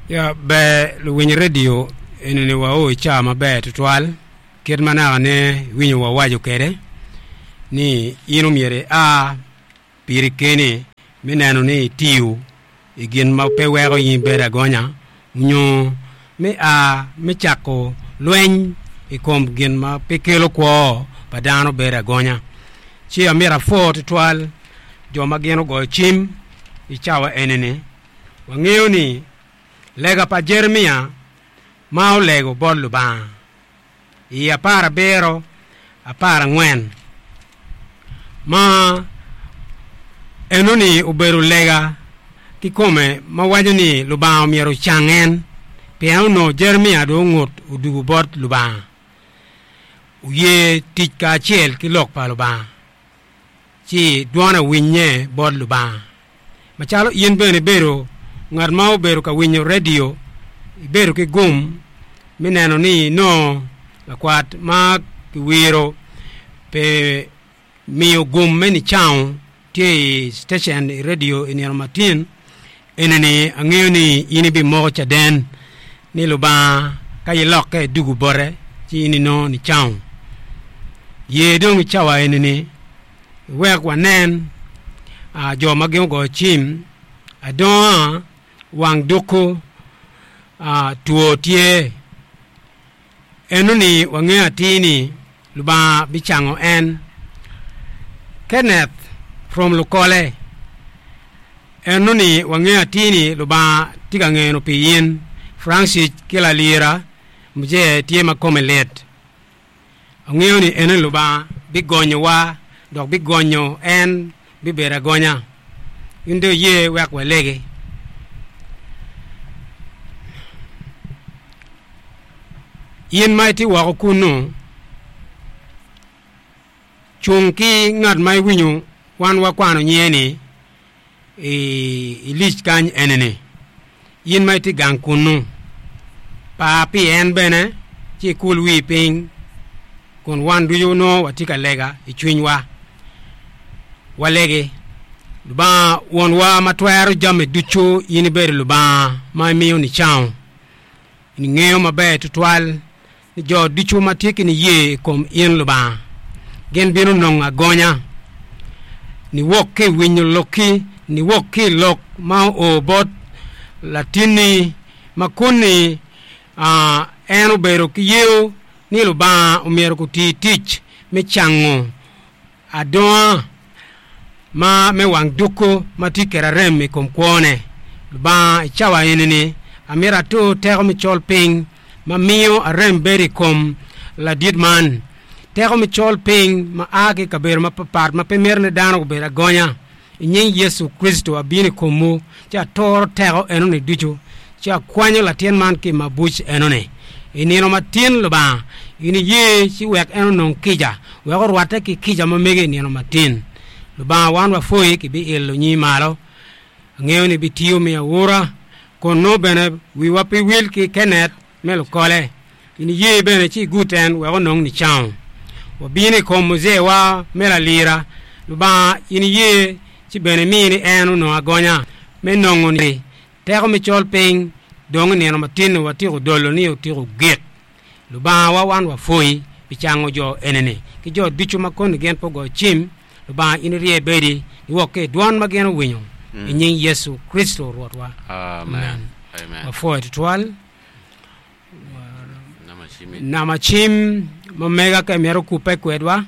Ya ber luwiny redio enini wao i caa maber tutwal kit ma naka ne iwinyo wawaco kwede ni in omyero ia piri keni me neno ni itiyo i gin ma pe weko in ibedo agonya nyo me a me cako lweny i kom gin ma pe kelo kwo pa dano bedo agonya. Ci amito apwo tutwal jo ma gin ogoyo cim i cawa eni-ni. Wangeyo ni lega pa Jeremia ma olego bot Lubanga i aparabiro aparangwen ma enoni obedo lega kikome ma waco ni Lubanga myero ocang en pien onongo Jeremia dong ongut odwogo bot Lubanga oye tic kacel ki lok pa Lubanga. ci dwone owinnye bot Lubanga. Macalo in bene ibedo ngat ma obedo ka winyo redio, ibedo ki gum me neno ni inongo lakwat ma kiwiro pi miyo gum me nicango tye i citecen i redio i nino matin, Enini angeyo ni in ibimoko caden ni Lubanga ka ilokke idwogo bote ci in inongo nicango. Ye dong i cawa enini iwek wanen jo ma gin ogoyo cim adonga wang duku two tye. Enoni wangeyo atir ni Lubanga bicango en. Kenneth from Lukole, Enoni wangeyo atir ni Lubanga tye ka ngeno pi in. Francis ki Lalira Mzee tye ma kome lit. Angeyo ni enoni Lubanga bigonyowa dok bigonyo en bibedo agonya. In dong iye wek walegi. In ma itye woko kunnu, cung ki ngat ma iwinyo wan wakwano nyinge-ni i lic kany eni-ni. In ma itye gang kunnu, par pi en bene ci ikul wii piny kun wan ducu nongo watye ka lega i cwinywa. Walegi, Lubanga Wonwa ma twero jami ducu, in ibedo Lubanga ma imiyo nicango. In ingeyo maber tutwal ni jo ducu ma tye ki niye i kom in Lubanga, gin bino nongo agonya niwok ki i winyo lokki, niwok ki i lok ma oo bot latinni ma kun-ni en obedo ki yeo ni Lubanga omyero guti tic me cango Adonga ma me wang dukku ma tye kwede arem i kom kwone. Lubanga, i cawa eni-ni, amito atur teko me col piny ma miyo arem bedo i kom ladit man, teko me col piny ma a ki i kabedo mapapat ma pe mito ni dano gubed agonya. I nying Yecu Kricito abino i komwu ci aturo teko enoni ducu, ci akwanyo latin man ki i mabuc enoni. I nino matin, Lubanga, in iye ci wek en onong kica, wek orwatte ki kica ma mege i nino matin. Lubanga, wan wapwoyi ki biilo nyingi malo. Angeyo ni ibitiyo me aura, kun nongo bene wiwa pe wil ki Kenneth me lukole. In iye bene ci igut en wek onong nicango. Wabino i kom muzeewa me lalira, Lubanga, in iye ci bene imi ni en onong agonya me nongo ni teko me col piny dong i nino matin-ni watyeko dolo ni otyeko gik. Lubangawa, wan wapwoyi pi cango jo eni-ni ki jo ducu ma koni gin pe ogoyo cim. Lubanga, in irye bedi niwok ki i dwon ma gin owinyo, i nying Yecu Kricito Rwotwa. Amen. Wapwoyo twatwal. Nama cim ma mega ka imito kubbe kwedwa,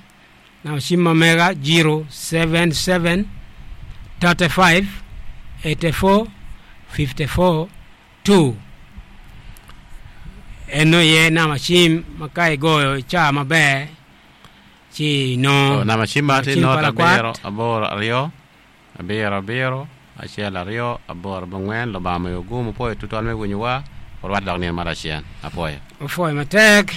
nama cim ma mega 077 35 84 54 2. Eno iye nama cim ma ka igoyo i caa maber ci inongo Nama cim ma tye cim pa not lakwat. abiro aboro aryo Abiro, abiro, acel, aryo, aboro, abongwen, Lubanga omiyo gum, wupwoyo tutwal me winyowa, wurwatte dok nino ma lacen. Apwoyo. Wupwoyo matek.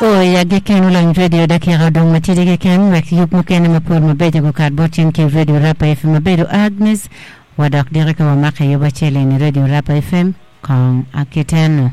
Oo i agikki en olony redio dakika odong matidi keken wek yub mukene mapol mabeco gukat bot cen ki i redio Rapa FM abedo Agnes wa dok diki ka wamako i yub acel eni redio Rapa FM kong akiteno.